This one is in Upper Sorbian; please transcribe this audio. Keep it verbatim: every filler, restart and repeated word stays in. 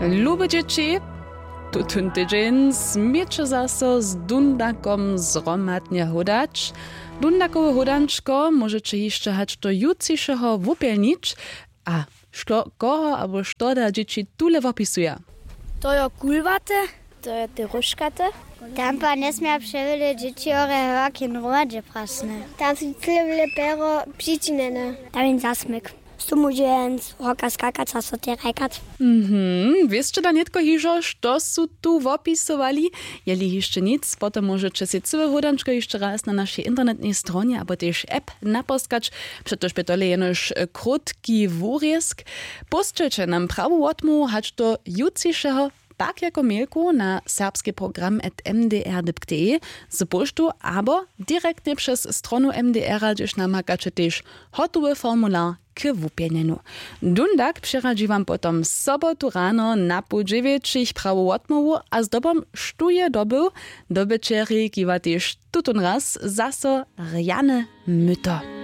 Lube dźěći, tutón tydźeń směće zaso z dundakom zhromadnje hódać. Dundakowe hódančko móžeće hišće hač do jutřišeho wupjelnić. A što koho abo što da dźěći tule wopisuja? To jo kulwaty. To je te róžkaty. Tam pa njesměja přewjele dźěći hore hewak jen hromadźe prasne. Tam su cyle wjele pero přičinjene. Tam jen zasmyk. Sto móže jen z hoka skakać a so te rajkać. Mhm. Wěsće da nětko hižo što su tu wopisowali? Jeli hišće nic, potom móžeće sej cyłe hódančko hišće raz na našej internetnej stronje abo tež app naposkać. Přetož bě tole jenož krótki wurězk. Pósćelće nam prawu wotmołwu hač do jutřišeho, pak jako mailku na serbski program at m d r dip k d e z poštu abo direktnje přez stronu mdr-a, hdźež namakaće tež hotowy formular k wupjelnjenju. Dundak přeradźi wam potom sobotu rano na poł dźewjećich prawu wotmołwu a zdobom štó je dobył, dobyćerjej kiwa tež tutón raz zaso rjane myto.